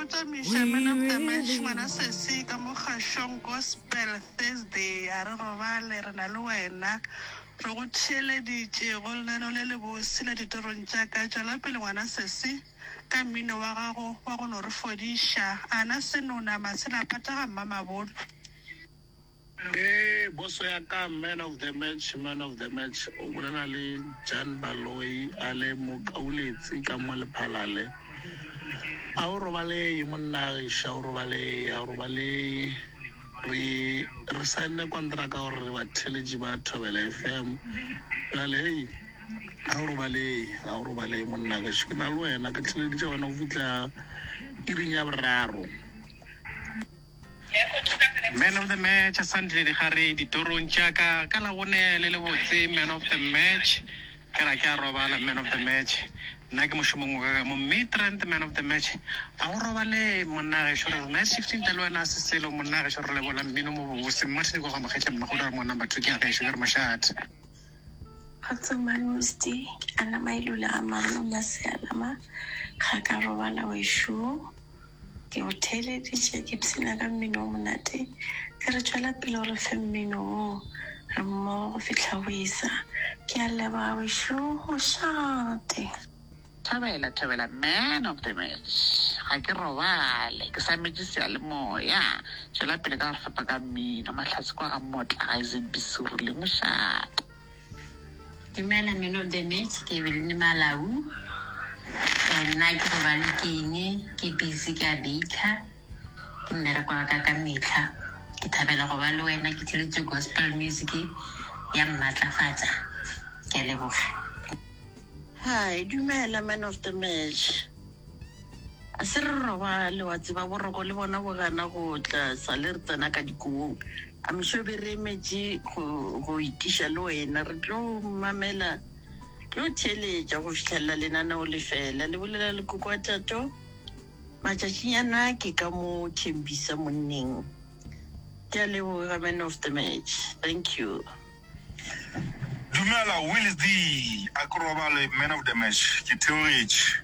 tamiša man of the match ngwana sesi ka mo kgašong gospel Thursday a re robale re na le wena re go theeleditše go lenaneo le lebose la ditorong tša ka tšwela pele ngwana sesi ka mmino wa gago wa go no re fodiša ana senona matshela pata ga mmamabolo. Ee, boso ya ka man of the match, man of the match o bolela le Jan Baloyi a le Mokauletsi ka mo Lephalale. A o robalei monna gešo, a o robalei, a o robalei. Re re saenne kontraka gore re batheeletši ba Thobela FM. Bjale hei, a o robalei, a o robalei monna gešo. Ke na le wena, ke theeleditše wena go fihla iring ya boraro. Man of the match Sandile Digare ditorong tša ka ka Labone le lebotse man of the match ke ra ke a robala man of the match nna ke mošomong wa ka ka mo Midrand man of the match a go robale monna gešo re re night shift ntle le wena se selo monna gešo re lebola mmino mo bobose Martin kwa ga Mokgetla Mmagodu a re mo number 2 ke ya gešo ke re mošate. Kgotso Manusti, ke Anna Mailula ga Marula Sealama ga ka robala wešo. Ke go theeleditše ke ipshina ka mmino o monate. Ke re tšwela pele o re fe mmino wo. Re mmogo go fihla go esa. Ke a leboga wešo. Mošate. Thobela thobela man of the match ga ke robale ke sametše seyalemoya tšwela pele ka go re fepa ka mmino mahlatse kwa ga mmotla ga ZB Serule mošate. Dumela man of the match ke Eveline Malau nna ke robale ke eng ke busy ke a baker ke mmereko wa ka ka metlha ke thabela go ba le wena ke theletše gospel music ya mmatlafatša ke a leboga. Hi, dumela man of the match. A se re robale wa tseba boroko le bona bo gana go tla sale re tsena ka dikobong. I'm sure be re emetše go go itiša le wena re tlo mamela tlo theeletša go fihlelela lenaneo le fela. Le bolela le koko wa Tato matšatšinyana ke ka mo Thembisa monneng. Ke a leboga man of the match. Thank you. Dumela Wills D, a ke robale man of the match ke theogetše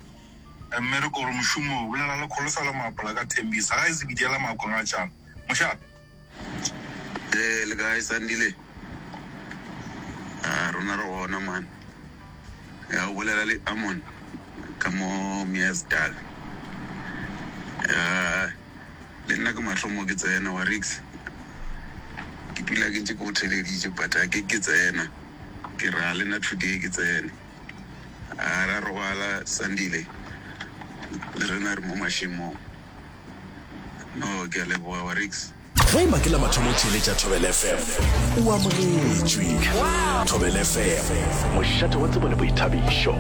mmereko gore mošomo o bolela le Kholofelo Maapola ka Thembisa ga e se bidiela Maakong a tšana mošate. Ee, le kae Sandile? A rona re gona man. Ya o bolela le Amon ka mo Meyersdal. Ya Le nna ke mahlo mo ke tsena wa riks ke dula ke ntše ke go theleditše but a ke ke tsena ke ra le nna today ke tsene a ra robala Sandile le rena re mo mašemong no ke a leboga wa riks. Ge e ba ke la mathomo o theeletša Thobela FM, o amogetšwe. Thobela FM, mošate wa tsebo le boithabišo.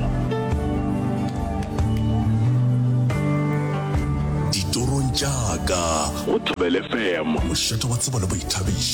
Ditorong tša ka. Go Thobela FM, mošate wa tsebo le boithabišo.